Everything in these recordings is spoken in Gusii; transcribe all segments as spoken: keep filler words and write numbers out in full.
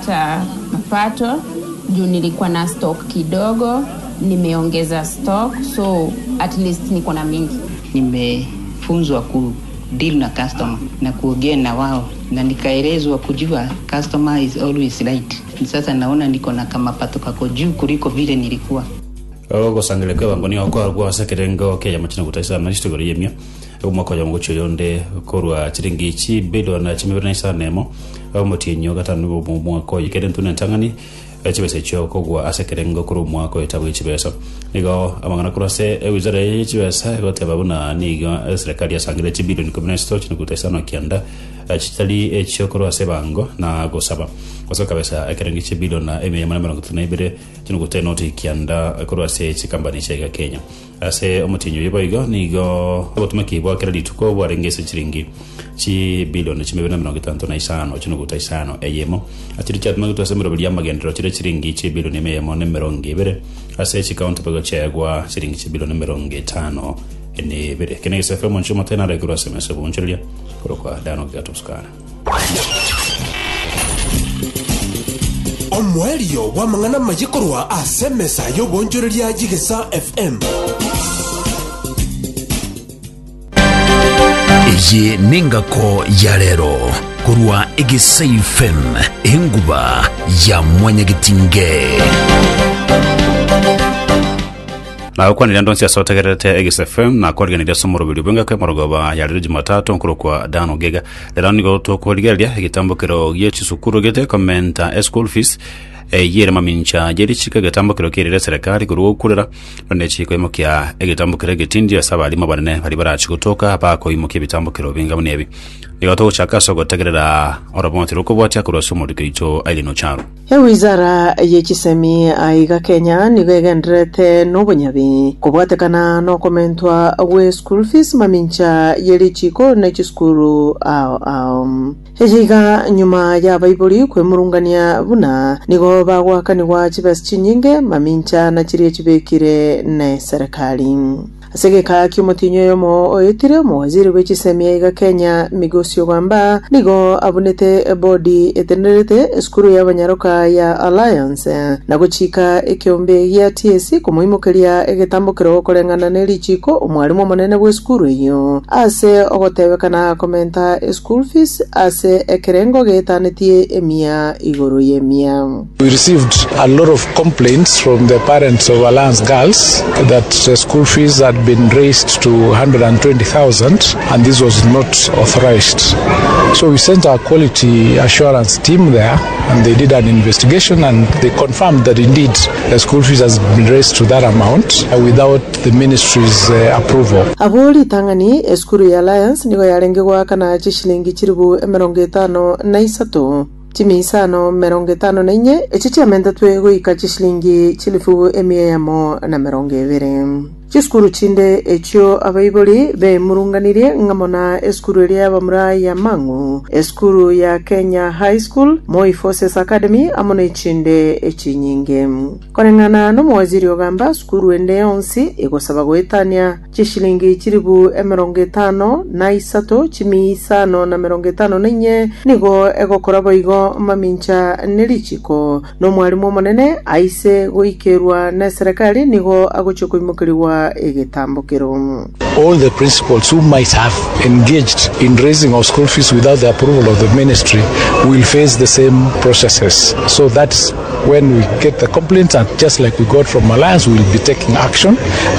Nimepata mapato juu nilikuwa na stock kidogo, nimeongeza stock so at least niko na mingi. Nimefunzwa ku deal na customer na kuongea na wao na nikaelezwa kujua customer is always right. Sasa naona niko na kama pato kako juu kuliko vile nilikuwa. Ogosangereria kw'ebango nigo kwarwa ase ekerengo ki'eyemo chinoguta isano na chitogoro y'emia omwaka oyomo gochia oyonde korwa chiringi chibilion chimibere na isano emo omotienyi o gatano nigo omwaka oyo kere ntune entang'ani chibesa echio kogwa ase ekerengo korwa omwaka oyo tabwe chibesa nigo amang'ana korwa ase ewizara ye chibesa egoteba buna nigo eserikali yasangire chibilion ikomi na isato chinoguta isano kianda chitari echio korwa ase ebango na gosaba gose kabesa ekerengo chibilion emia eyemo na emerongo etato na ibere chinoguta enoti kianda korwa ase chikambani chia iga Kenya ase omotienyi oyo boigo nigo obotumeki bwa kera rituko bwarenge ase chiringi chibilion chimibere na emerongo etanto na isano chinoguta isano eyemo achiri chiatumegetwe ase emeroberi y'amagenderero chire chiringi chibilion ime eyemo na emerongo ebere ase chikaunti boigo chiaegwa chiringi chibilion emerongo etano na ebere kene gese F M onche omotene arekorwa ase emesa obonchereria korokwa Dano Gatoskana. Omoerio bw'amang'ana amaye korwa ase emesa y'obonchoreria y'Egesaa F M. Eye nengako ya rero korwa Egesai F M, enguba ya mwanyagetinge. Nagokwanire ande onsi ase otegererete Egesa F M na kwariganirie ase omoroberi bw'engako emorogoba ya rero Jumatatu nkorokwa Dan Ogega. Rero nigo tokorigereria egetambokero gie chisukuru gete komenta eschool fees eyio ere mamincha ye richiko egetambokero kerire eserekari korwa gokurera nonye chikoimokia egetambokero egetindi ase abarimu abanene baria barachi gotoka bakoimokia ebitambokero binga buna ebi. Nigo togochaka ase ogotegerera oroboti rokobwatia korwa ase omoriko oito Irene Ocharo. Ewizara ye chisemi aiga Kenya nigo egenderete nobonyabi kobwatekana nokomentwa gwe school fees mamincha ye richiko na chisukuru ao ao eyiga nyuma y'abaibori kwemurungania buna nigo bagwakanigwa chibesa chinyinge mamincha na chiria chibekire na serikali. Ase geka kiomotinyo oyomo oetire, omowaziri bwe chisemi aiga Kenya Migosi Ogamba nigo abunete ebodi etenerete esukuru y'abanyaroka ya Alliance na gochika ekiombe gia T S C komoimokeria egetambokero koreng'ana na erichiko omwarimu omonene bwa esukuru eyo ase ogotebekana komenta eschool fees ase ekerengo getanetie emia igoro y'emia. We received a lot of complaints from the parents of Alliance Girls that the school fees had been raised to one hundred twenty thousand and this was not authorized. So we sent our quality assurance team there and they did an investigation and they confirmed that indeed the school fees has been raised to that amount uh, without the ministry's uh, approval. Abo ritang'ani esukuru ya Alliance nigo yarenge goakana chishilingi chiribu emerongo etano na isato chimi isano merongo etano na inye echi chiamentetwe goika chishilingi chilifu emia eyemo na merongo ebere. Chisukuru chinde echio abaibori bemurunganirie ng'amo na esukuru eria y'abamura ya Mang'u, esukuru ya Kenya High School, Moi Forces Academy amo na echinde echinyinge. Koreng'ana n'omowaziri Ogamba, sukuru ende yonsi egosaba goetania chishilingi chiribu emerongo etano na isato chimi isano na merongo etano na inye nigo egokora boigo mamincha nerichiko na omwarimu omonene aise goikerwa na eserekari nigo agochia koimokeriwa egetambokero. All the principals who might have engaged in raising of school fees without the approval of the ministry will face the same processes. So that's when we get the complaints, and just like we got from Alliance, we will be taking action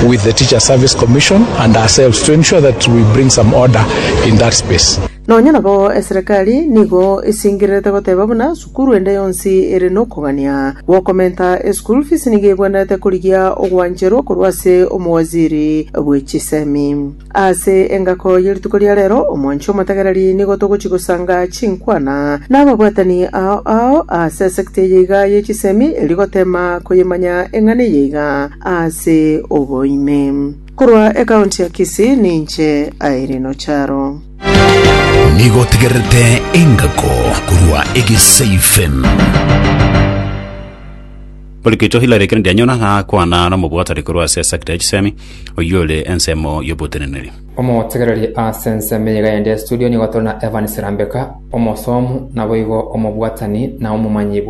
with the Teacher Service Commission and ourselves to ensure that we bring some order in that space. Nonya nabo eserekari nigo esingirete goteba buna sukuru ende yonsi ere nokogania gwokomenta eschool fees nigo ebwenerete korigia ogwancherwa korwa ase omowaziri bwe chisemi. Ase engako y'erituko ria rero omwanchi omotegereri nigo togochi gosanga chinkwana n'ababwatani ao ao ase esekta eye iga y'echisemi erigotema koyemanya eng'ana eye iga ase oboime. Korwa ekaunti ya Kisii ninche Irene Ocharo. Nigo tegerete engako korwa Egesai F M. Poliketo Hillary Kennedy anyona na kwana na mobwatari korwa ase sekta ya chisemi oyio ore ensemo y'oboteneneri. Omotegereri ase ensemo eyega yende studio nigo tore na Evan Serambeka, omosomu naboigo omobwatani na omomanyi bwa